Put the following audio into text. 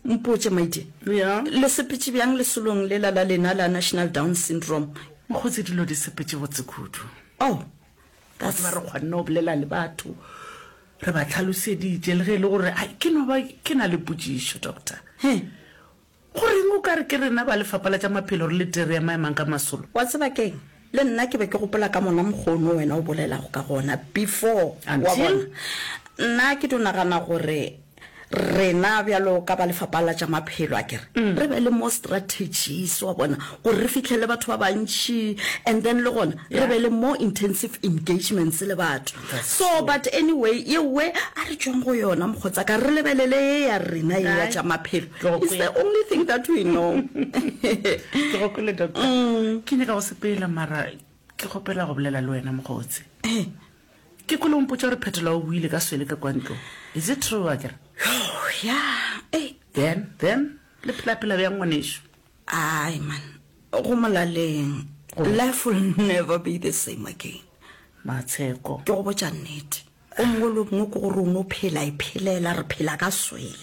Mpotše, my dear. Ya. Le sepetše bjang lesolong lela la lena la National Down Syndrome? Mokgotsi, dilo di sepetše botse kudu. Oh, Wa that's. tseba, re kgonne go bolela le batho, re ba hlaloseditše, le ge e le gore, ai, ke no ba ke na le potšišo, doctor. He. Go reng o ka re ke rena ba Lefapha la tša Maphelo re le tee re ema-emang ka masolo? Wa tseba ke'ng? Le nna ke be ke gopola ka mona mokgwa ono wena o bolelago ka gona before, wa Until? bona. Nna ke dio nagana gore rena bjalo ka ba Lefapha la tša Maphelo, akere, re be le more strategies, wa bona, gore re fihlele batho ba bantši and then le gona re be le more intensive engagements le batho. So, but anyway, yeowe a re tšweng go yona mokgotsaka, re lebelele ye ya rena ye ya tša maphelo. It's the only thing that we know. Ke go kwele doctor. Ke nyaka go sepela mara ke kgopela go bolela le wena mokgotsi. Ke kwele o mpotša gore Phetola o boile ka swele ka kwa ntlong. Is it true akere? Yeah, ei. Then, then le phela-phela bjang ngwanešu? Ai man, go molaleng. Life will never be the same again. Matsheko. Ke go botša nnete. O mongwe le o mongwe ke gore o no phela iphelela, re phela ka swele.